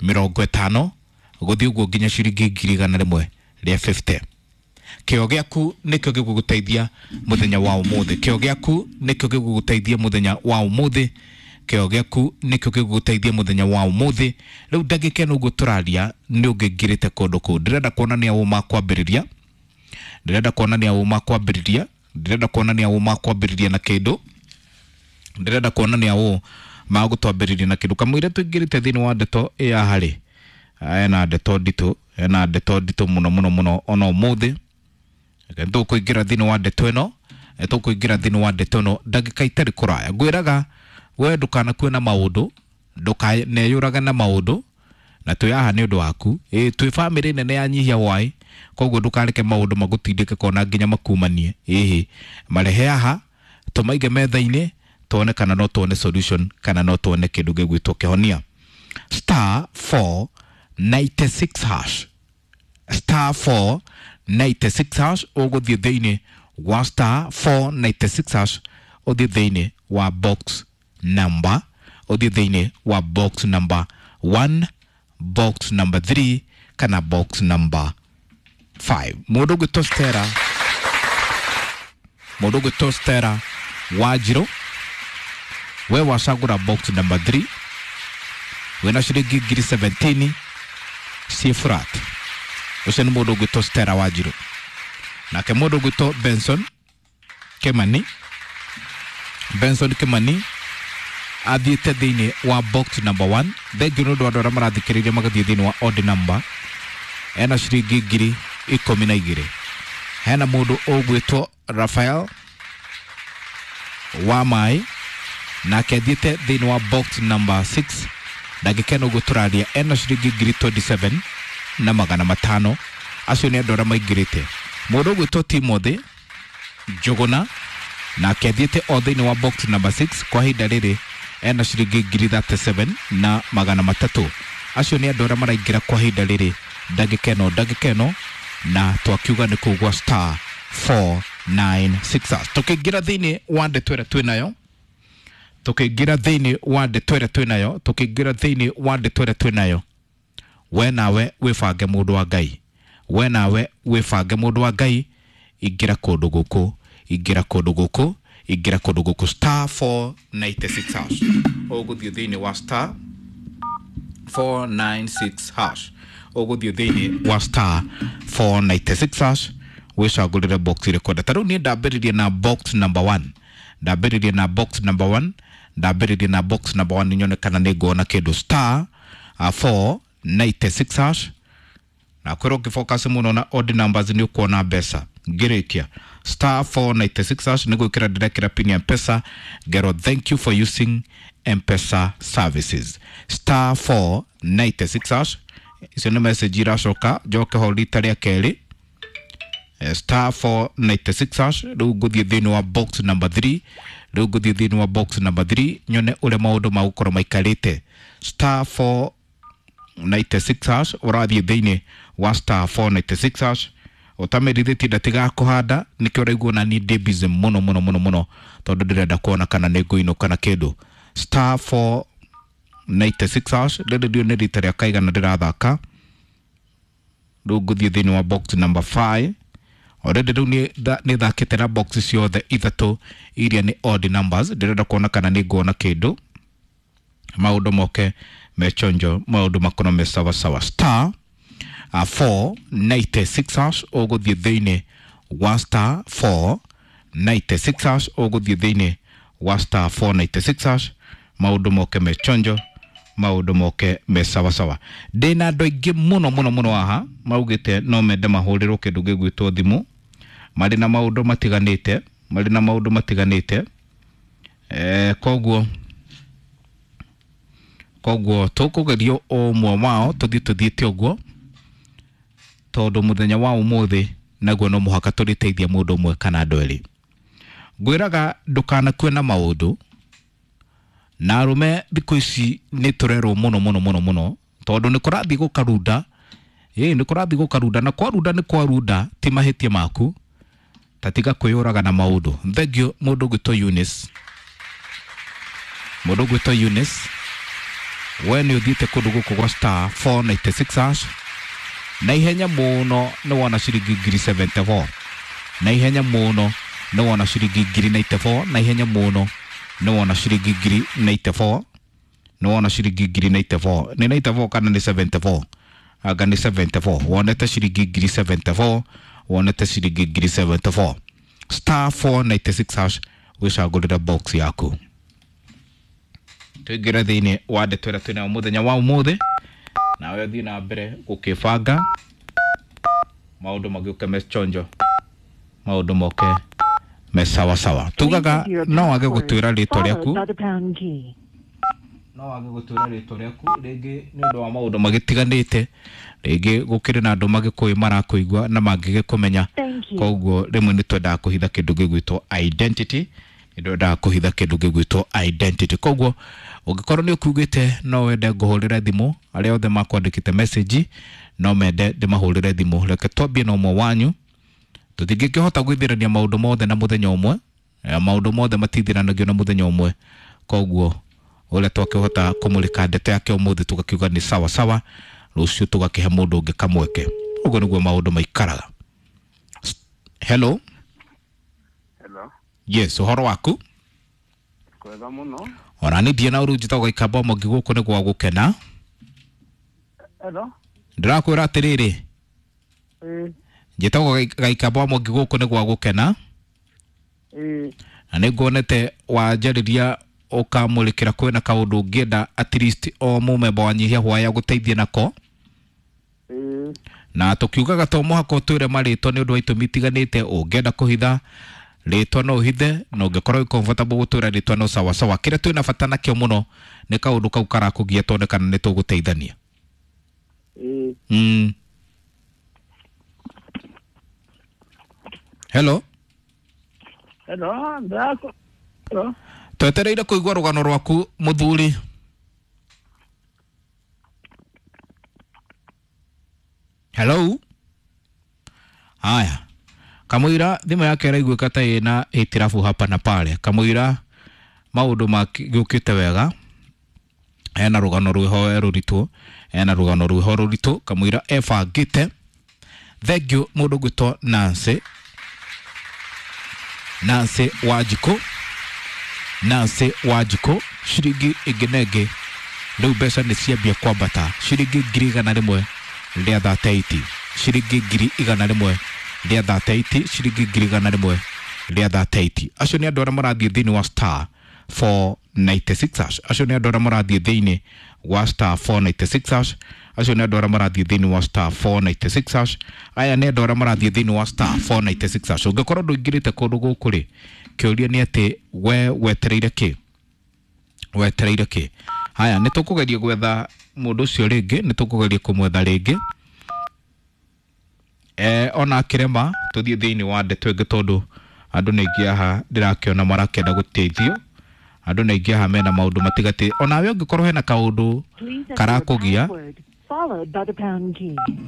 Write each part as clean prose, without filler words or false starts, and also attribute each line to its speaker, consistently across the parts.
Speaker 1: 50 gũthiĩ ũguo nginya ciringi 150,000. Kĩo gĩaku nĩkĩo gĩgũgũteithia mũthenya wa ũmũthĩ. Kĩo gĩaku nĩkĩo gĩgũgũteithia mũthenya wa ũmũthĩ. Kĩo gĩaku nĩkĩo gĩgũgũteithia mũthenya wa ũmũthĩ. Rĩu ndagĩka ĩno ũguo tũraria nĩ ũngĩingĩrĩte kũndũ kũu. Ndĩrenda kuonania ũma kwambĩrĩria, ndĩrenda kuonania ũma kwambĩrĩria, ndĩrenda kuonania ũma kwambĩrĩria na kĩndũ, ndĩrenda kuonania ũ magũtwambĩrĩria na kĩndũ. Kamũira tũingĩrĩte thĩinĩ wa ndeto ya harĩ ena ndeto nditũ, ena ndeto nditũ mũno mũno mũno ona ũmũthĩ. Tũkũingĩra thĩinĩ wa ndeto ĩno, tũkũingĩra thĩinĩ wa ndeto ĩno ndagĩka itarĩ kũraya. Ngwĩraga we ndũkanakue na maũndũ, ndũkaneyũrage na maũndũ, na twĩ haha nĩ ũndũ waku. Ĩ twĩ bamĩrĩ nene ya Nyihia Hwai, koguo ndũkareke maũndũ magũtindĩke kona nginya makumanie. Ĩhĩ, marehe haha tũmaige metha-inĩ tuone kana no tuone solution kana no tuone kĩndũ gĩgwĩtwo kĩhonia. Star 496 hash, star 496 hash, ũgũthiĩ thĩinĩ wa star 496 hash, ũthiĩ thĩinĩ wa box number, ũthiĩ thĩinĩ wa box number 1, box number 3 kana box number 5. Mũndũ ũgwĩtwo Stella, mũndũ ũgwĩtwo Stella Wanjirũ, we wacagũra box number 3 wĩna ciringi 17,000 ciĩ flat. Ũcio nĩ mũndũ ũgwĩtwo Stella Wanjirũ. Nake mũndũ ũgwĩtwo Benson Kimani, Benson Kimani athiĩte thĩinĩ wa box number 1. Thengiũ nĩ ũndũ wa andũ arĩa marathikĩrĩria magathiĩ thĩinĩ wa odd number, ena ciringi 12,000. Hena mũndũ ũgwĩtwo Rafael wa Mai, nake athiĩte thĩinĩ wa box number 6. Ndagĩka ĩno ũguo tũraria ena ciringi 27,500. Acio nĩ andũ arĩa maingĩrĩte. Mũndũ ũgwĩtwo Timothy Njũgũna, nake athiĩte o thĩinĩ wa box number 6. Kwa ihinda rĩrĩ ena ciringi 37,300. Acio nĩ andũ arĩa maraingĩra kwa ihinda rĩrĩ ndagĩka ĩno, ndagĩka ĩno, na twakiuga nĩ kũu gwa star 496 hash. Tũkĩingĩra thĩinĩ wa ndeto ĩrĩa twĩnayo, tũkĩingĩra thĩinĩ wa ndeto ĩrĩa twĩnayo, tũkĩingĩra thĩinĩ wa ndeto ĩrĩa twĩnayo, we nawe wĩbange mũndũ wa Ngai, we nawe wĩbange mũndũ wa Ngai, ingĩra kũndũ gũkũ, ingĩra kũndũ gũkũ, ingĩra kũndũ gũkũ star 496 hash. Ũgũthiĩ thĩinĩ wa star 496 hash, ũgũthiĩ thĩinĩ wa star 496 hash wĩcagũrĩre box ĩrĩkũ. Ta rĩu niĩ ndambĩrĩria na box number 1, ndambĩrĩria na box number 1, ndambĩrĩria na box number 1 nyone kana nĩ nguona kĩndũ. Star 496 hash. Na kwĩrwo ũngĩfocus mũno na odd numbers nĩ ũkuona mbeca. Ngĩrĩkia star 496 hash nĩ gwĩkĩra ndĩrekĩra pin ya Mpesa, ngerwo thank you for using Mpesa services. Star 496 hash, icio nĩ message iracoka njoke ho rita rĩa kerĩ. Star 496 hash, rĩu ngũthiĩ thĩinĩ wa box number 3, rĩu ngũthiĩ thĩinĩ wa box number 3 nyone ũrĩa maũndũ magũkorwo maikarĩte. Star 496 hash, ũrathiĩ thĩinĩ wa star 496 hash. Ũtamĩrithĩtie ndatigaga kũhanda, nĩkĩo ũraigua na niĩ ndĩ busy mũno mũno mũno mũno, tondũ ndĩrenda kuona kana nĩ ngũinũka na kĩndũ. Star 496 hash, rĩrĩ ndio nĩ rita rĩa kaigana ndĩrathaka. Rĩu ngũthiĩ thĩinĩ wa box number 5. Already rĩu nĩ thakĩte na box ciothe ithatũ iria nĩ odd numbers. Ndĩrenda kuona kana nĩ nguona kĩndũ, maũndũ moke mechonjo, maũndũ makorwo me sawa sawa. Star 496 hash, ũgũthiĩ thĩinĩ wa star 496 hash, ũgũthiĩ thĩinĩ wa star 496 hash, maũndũ moke mechonjo, maũndũ moke me sawa sawa. Ndĩna andũ aingĩ mũno mũno mũno haha maugĩte no mende mahũrĩrwo kĩndũ gĩgwĩtwo thimũ, marĩ na maũndũ matiganĩte, marĩ na maũndũ matiganĩte. Koguo tũkũgerio ũmwe wao tũthiĩ tũthiĩte ũguo, tondũ mũthenya wa ũmũthĩ naguo no mũhaka tũrĩteithia mũndũ ũmwe kana andũ erĩ. Ngwĩraga ndũkanakue na maũndũ, na arũme thikũ ici nĩ tũrerwo mũno mũno mũno mũno, tondũ nĩ kũrathiĩ gũkarunda. Ĩĩ nĩ kũrathiĩ gũkarunda, na kwarunda nĩ kwarunda, ti mahĩtia maku, ta tiga kwĩyũraga na maũndũ. Thengiũ mũndũ ũgwĩtwo Eunice, mũndũ ũgwĩtwo Eunice We nĩ ũthiĩte kũndũ gũkũ gwa star 496 hash na ihenya mũno nĩ wona ciringi ngiri 74, na ihenya mũno nĩ wona ciringi ngiri 94, na ihenya mũno nĩ wona ciringi ngiri 94, nĩ wona ciringi ngiri 94. Nĩ 94 kana nĩ 74? Anga nĩ 74. Wonete ciringi ngiri 74, wonete ciringi ngiri 74. Star 496 hash, wĩcagũrĩre box yaku. Tũingĩre thĩinĩ wa ndeto ĩrĩa twĩnayo mũthenya wa ũmũthĩ, nawe ũthiĩ na mbere gũkĩbanga maũndũ magĩũke mechonjo, maũndũ moke me sawa sawa. Tugaga no wage gũtwĩra rĩtwa rĩaku, no wage gũtwĩra rĩtwa rĩaku rĩngĩ nĩ ũndũ wa maũndũ magĩtiganĩte, rĩngĩ gũkĩrĩ na andũ magĩkũĩ marakũigua na mangĩgĩkũmenya. Koguo rĩmwe nĩ twendaga kũhitha kĩndũ gĩgwĩtwo identity, nĩ twendaga kũhitha kĩndũ gĩgwĩtwo identity. Koguo ũngĩkorwo nĩ ũkiugĩte no wende ngũhũrĩre thimũ, arĩa othe makwandĩkĩte message no mende ndĩmahũrĩre thimũ, reke twambie na ũmwe wanyu. Tũtingĩkĩhota gwĩthirania maũndũ mothe na mũthenya ũmwe, maũndũ mothe matithiranagio na mũthenya ũmwe. Koguo ũrĩa twakĩhota kũmũrĩka ndeto yake ũmũthĩ tũgakiuga nĩ sawa sawa, rũciũ tũgakĩhe mũndũ ũngĩ kamweke. Ũguo nĩguo maũndũ maikaraga. Hello.
Speaker 2: Hello.
Speaker 1: Yes, ũhoro waku?
Speaker 2: Kwega mũno.
Speaker 1: Ona niĩ ndiĩ na ũru, njĩtagwo Gaikamba Mwangi, gũkũ nĩ gwa gũkena.
Speaker 2: Hello.
Speaker 1: Ndĩrakwĩra atĩrĩrĩ,
Speaker 2: Ĩĩ.
Speaker 1: njĩtagwo Gaikamba Mwangi, gũkũ nĩ gwa gũkena.
Speaker 2: Ĩĩ.
Speaker 1: Na nĩ nguonete wanjarĩria ũkamũrĩkĩra kwĩna kaũndũ ũngĩenda at least o mũmemba wa Nyihia Hwaya gũteithie nako.
Speaker 2: Ĩĩ.
Speaker 1: Na tũkiugaga to mũhaka ũtwĩre marĩtwa nĩ ũndũ wa itũmi itiganĩte. Ũngĩenda kũhitha rĩtwa no ũhithe, na ũngĩkorwo wĩ comfortable gũtwĩra rĩtwa no sawa sawa. Kĩrĩa twĩna bata nakĩo mũno nĩ kaũndũ kau karakũgia tuone kana nĩ tũgũteithania.
Speaker 2: Ĩĩ.
Speaker 1: Hello.
Speaker 2: Hello, ndako. Hello.
Speaker 1: Twetereire kũigua rũgano rwaku mũthuri. Hello. Haya, kamũira thimũ yake ĩraiguĩka ta ĩna hĩtirabu hapa na pale. Kamũira maũndũ magĩũkĩte wega, ena rũgano rwĩho rũritũ, ena rũgano rwĩho rũritũ. Kamũira ebangĩte. Thank you mũndũ ũgwĩtwo Nancy, Nancy Wanjikũ, Nancy Wanjikũ, ciringi ĩngĩ na ĩngĩ rĩu mbeca nĩ ciambia kwambata, ciringi 138,000, ciringi 138,000, ciringi 138,000. Acio nĩ andũ arĩa marathiĩ thĩinĩ wa star 496 hash. Acio nĩ andũ arĩa marathiĩ thĩinĩ wa star 496 hash. Acio nĩ andũ arĩa marathiĩ thĩinĩ wa star 496 hash. Aya nĩ andũ arĩa marathiĩ thĩinĩ wa star 496 hash. Ũngĩkorwo ndũingĩrĩte kũndũ gũkũ rĩ, kĩũria nĩ atĩ we wetereire kĩ? Wetereire kĩ? Haya, nĩ tũkũgeria gwetha mũndũ ũcio rĩngĩ, nĩ tũkũgeria kũmwetha rĩngĩ. Ona akĩrema tũthiĩ thĩinĩ wa ndeto ĩngĩ, tondũ andũ nĩ aingĩ haha ndĩrakĩona marakĩenda gũteithio. Andũ nĩ aingĩ haha mena maũndũ matigatĩ. Onawe ũngĩkorwo hena kaũndũ karakũgia,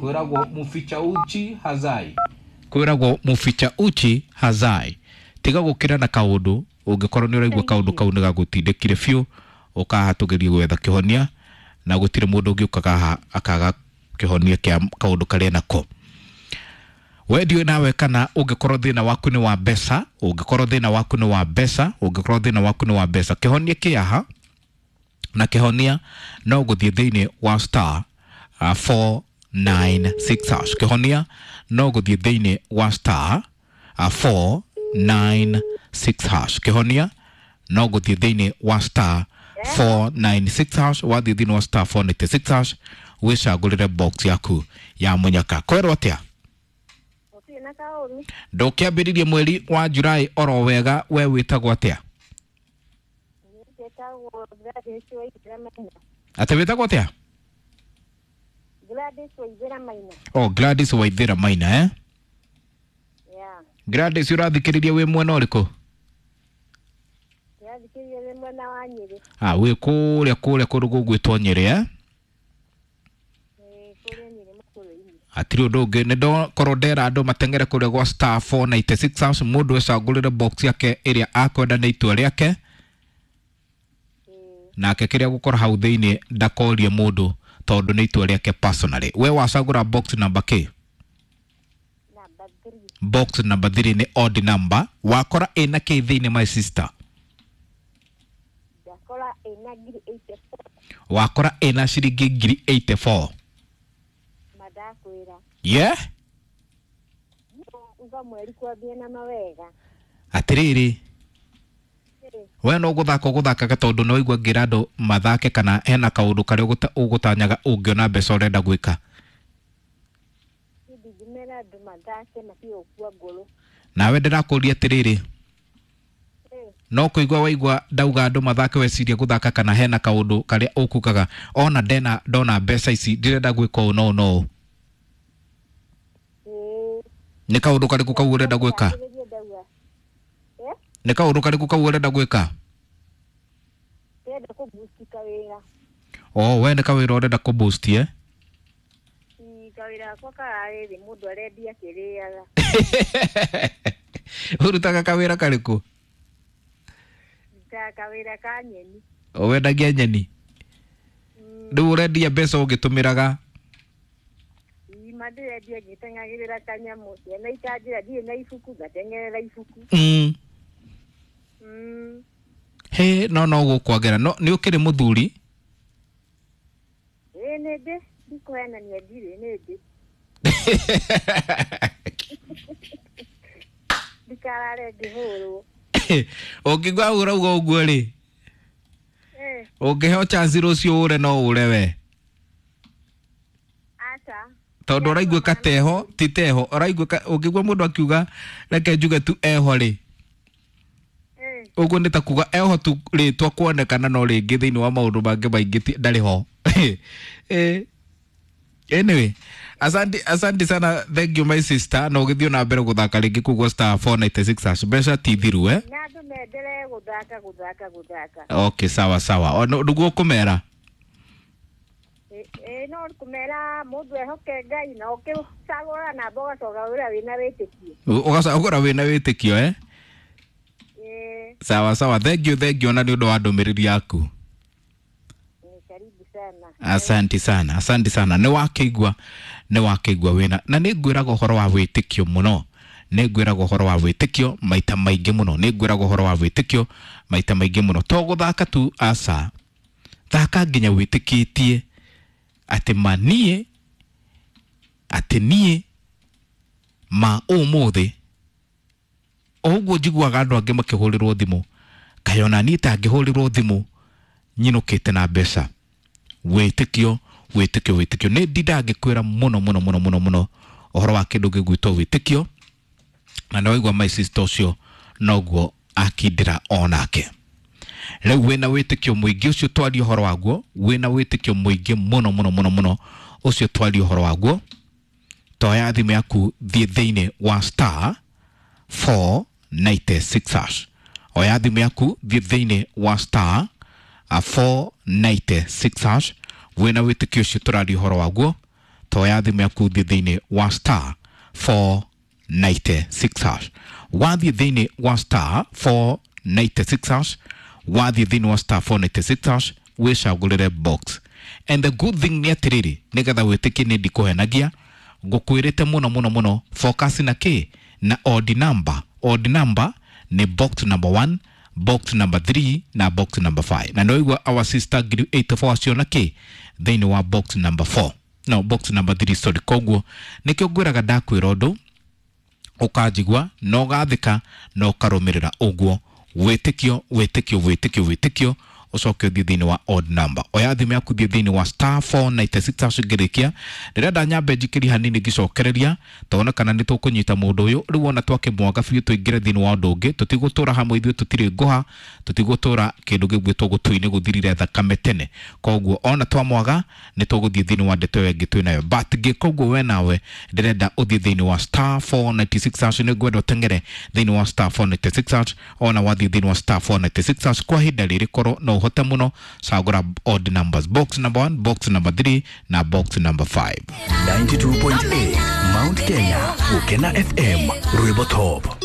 Speaker 1: kwĩragwo mũficha uchi hazai, kwĩragwo mũficha uchi hazai. Tiga gũkĩra na kaũndũ, ũngĩkorwo nĩ ũraigua kaũndũ kau nĩ gagũtindĩkire biũ, ũkaha tũgerie gwetha kĩhonia, na gũtirĩ mũndũ ũngĩũkaga haha akaga kĩhonia kĩa kaũndũ karĩa nako. We ndiũĩ nawe kana ũngĩkorwo thĩna waku nĩ wa mbeca, ũngĩkorwo thĩna waku nĩ wa mbeca, ũngĩkorwo thĩna waku nĩ wa mbeca, kĩhonia kĩ haha, na kĩhonia no gũthiĩ thĩinĩ wa star 496 hash. Kĩhonia no gũthiĩ thĩinĩ wa star 496 hash. Kĩhonia no gũthiĩ thĩinĩ wa star 496 hash. Wathiĩ thĩinĩ wa star 496 hash, wĩcagũrĩre box yaku ya mũnyaka. Kwerwo atĩa?
Speaker 3: Gũtirĩ na kaũru.
Speaker 1: Ndũkĩambĩrĩrie mweri wa Julai oro wega. We wĩtagwo atĩa?
Speaker 3: Njĩtagwo Gladys Waithera Maina.
Speaker 1: Atĩ wĩtagwo atĩa?
Speaker 3: Gladys Waithera Maina.
Speaker 1: Oh, Gladys Waithera Maina, eh?
Speaker 3: Yeah.
Speaker 1: Gladys, ũrathikĩrĩria wĩ mwena ũrĩkũ?
Speaker 3: Ndĩrathikĩrĩria wĩ mwena wa Nyĩrĩ.
Speaker 1: Ah, wĩ kũrĩa kũrĩa kũndũ gũgwĩtwo Nyĩrĩ, eh?
Speaker 3: Ĩĩ, kũrĩa Nyĩrĩ Makũrũ-inĩ.
Speaker 1: Hatirĩ ũndũ ũngĩ, nĩ ndakorwo ndera andũ mateng'ere kũrĩa gwa star 496 hash, mũndũ ecagũrĩre box yake ĩrĩa akwenda nĩ itua rĩake.
Speaker 3: Ĩĩ.
Speaker 1: Nake kĩrĩa gũkora hau thĩinĩ ndakorie mũndũ tondũ nĩ itua rĩake personally. We wacagũra box number K?
Speaker 3: Number 3.
Speaker 1: Box number 3 nĩ odd number. Wakora ĩna kĩ thĩinĩ, my sister?
Speaker 3: Ndakora ĩna ngiri 84.
Speaker 1: Wakora ĩna ciringi ngiri 84.
Speaker 3: Mandakwĩra.
Speaker 1: Yeah.
Speaker 3: Uga mweri kwambia na mawega.
Speaker 1: Atĩrĩrĩ, we no gũthaka ũgũthakaga tondũ no igua ngĩra andũ mathake, kana hena kaũndũ karĩa ũgũtanyaga ũngĩona mbeca ũrenda gwĩka?
Speaker 3: Ndingĩmera andũ mathake matige gũkua ngoro.
Speaker 1: Nawe ndĩrakũria atĩrĩrĩ, no kũigua waigua ndauga andũ mathake weciria gũthaka, kana hena kaũndũ karĩa ũkugaga ona ndena ndona mbeca ici ndĩrenda gwĩka ũũ no ũũ?
Speaker 3: Ĩĩ.
Speaker 1: Nĩ kaũndũ karĩkũ kau ũrenda gwĩka?
Speaker 3: Ndambĩrĩrie ndauga. Eh?
Speaker 1: Nĩ kaũndũ karĩkũ kau ũrenda gwĩka?
Speaker 3: Ndĩrenda kũbusti kawĩra.
Speaker 1: O we nĩ kawĩra ũrenda kũboost, eh?
Speaker 3: Ii, kawĩra gakwa kararĩ thĩ, mũndũ arendia akĩrĩaga.
Speaker 1: Ũrutaga kawĩra karĩkũ?
Speaker 3: Ndutaga kawĩra ka nyeni.
Speaker 1: Wendagia nyeni? Rĩu ũrendia mbeca ũgĩtũmĩraga?
Speaker 3: Ii, ma ndĩrendia ngĩteng'agĩrĩra kanyamũ. Ciana ikanjĩra ndirĩ na ibuku, ngateng'erera ibuku.
Speaker 1: He no gũkwagĩra no nĩ ũkĩrĩ mũthuri?
Speaker 3: Ĩĩ, nĩ ndĩ, ndikũhenania, ndirĩ, nĩ ndĩ. Ndikarare ngĩhũrwo.
Speaker 1: Ũngĩigua ũrauga ũguo rĩ,
Speaker 3: Eh,
Speaker 1: ũngĩheo chance rũciũ ũre no ũre we?
Speaker 3: Aca.
Speaker 1: Tondũ ũraiguĩka teho ti teho ũraiguĩka ũngĩigua mũndũ akiuga reke njuge tu eho rĩ, ũguo nĩ ta kuga eho tu rĩtwa kuonekana, no rĩngĩ thĩinĩ wa maũndũ mangĩ maingĩ ndarĩ ho. Anyway, asante, asante sana, thank you my sister. Na ũgĩthiĩ na mbere gũthaka rĩngĩ koguo star 496 hash, mbeca ti thiru, eh?
Speaker 3: Na andũ mendelee gũthaka, gũthaka, gũthaka.
Speaker 1: Okay, sawa sawa. Nĩguo ũkũmera?
Speaker 3: Ĩ, no kũmera mũndũ ehoke Ngai na ũkĩcagũra namba ũgacoka wĩra wĩna wĩtĩkio.
Speaker 1: Ũgacagũra wĩna wĩtĩkio, eh?
Speaker 3: Ĩ.
Speaker 1: Sawa sawa, thank you, thank you ona nĩ ũndũ wa ndũmĩrĩri yaku.
Speaker 3: Ni karibu sana.
Speaker 1: Asante sana, asante sana. Nĩ wakĩigua, nĩ wakĩigua wĩna na nĩ ngwĩraga ũhoro wa wĩtĩkio mũno, nĩ ngwĩraga ũhoro wa wĩtĩkio maita maingĩ mũno, nĩ ngwĩraga ũhoro wa wĩtĩkio maita maingĩ mũno. To gũthaka tu, aca, thaka nginya wĩtĩkĩtie atĩ ma niĩ, atĩ niĩ ma ũmũthĩ o ũguo njiguaga andũ angĩ makĩhũrĩrwo thimũ, kaĩ ona niĩ tangĩhũrĩrwo thimũ nyinũkĩte na mbeca? Wĩtĩkio, wĩtĩkio, wĩtĩkio. Nĩ ndindaga ngĩkwĩra mũno mũno mũno mũno mũno ũhoro wa kĩndũ gĩgwĩtwo wĩtĩkio, na nĩ waigua my sister ũcio noguo akindĩra onake. Rĩu wĩna wĩtĩkio mũingĩ ũcio twaria ũhoro waguo, wĩna wĩtĩkio mũingĩ mũno mũno mũno mũno ũcio twaria ũhoro waguo, toya thimũ yaku, thiĩ thĩinĩ wa star 496 hash. Oya thimũ yaku, thiĩ thĩinĩ wa star 496 hash. Wĩna wĩtĩkio ũcio tũraria ũhoro waguo, toya thimũ yaku, thiĩ thĩinĩ wa star 496 hash. Wathiĩ thĩinĩ wa star 496 hash, wathiĩ thĩinĩ wa star 496 hash, wĩcagũrĩre box. And the good thing nĩ atĩrĩrĩ, nĩgetha wĩtĩkie nĩ ndikũhenagia, ngũkwĩrĩte mũno mũno mũno, focus na kĩ? Na odd number. Odd number nĩ box number 1, box number 3 na box number 5. Na nĩwaigua our sister ngiri 84 aciona kĩ thĩinĩ wa box number 4, no, box number 3, sorry. Koguo nĩkĩo ngwĩraga, ndakwĩra ũndũ ũkanjigua na ũgathĩka na ũkarũmĩrĩra ũguo. Wĩtĩkio, wĩtĩkio, wĩtĩkio, wĩtĩkio, ũcoke ũthiĩ thĩinĩ wa odd number. Oya thimũ yaku, thiĩ thĩinĩ wa star 496 hash. Ngĩrĩkia ndĩrenda nyambe njikĩrie hanini ngĩcokereria tone kana nĩ tũkũnyita mũndũ ũyũ. Rĩu ona twakĩmwaga biũ, tũingĩre thĩinĩ wa ũndũ ũngĩ. Tũtigũtũra hamwe ithuĩ, tũtirĩ ngũha, tũtigũtũra kĩndũ gĩgwĩtwo gũtũ-inĩ gũthirire thakame tene. Koguo ona twamwaga nĩ tũgũthiĩ thĩinĩ wa ndeto ĩyo ĩngĩ twĩ nayo, but ngĩka ũguo we nawe ndĩrenda ũthiĩ thĩinĩ wa star 496 hash. Nĩ ngwenda ũteng'ere thĩinĩ wa star 496 hash. Ona wathiĩ thĩinĩ wa star 496 hash kwa ihinda rĩrĩ, korwo no ũhote mũno, cagũra odd numbers, box number 1, box number 3 na box number 5.
Speaker 4: 92.8 Mount Kenya, Gukena FM, Rwimbo Top.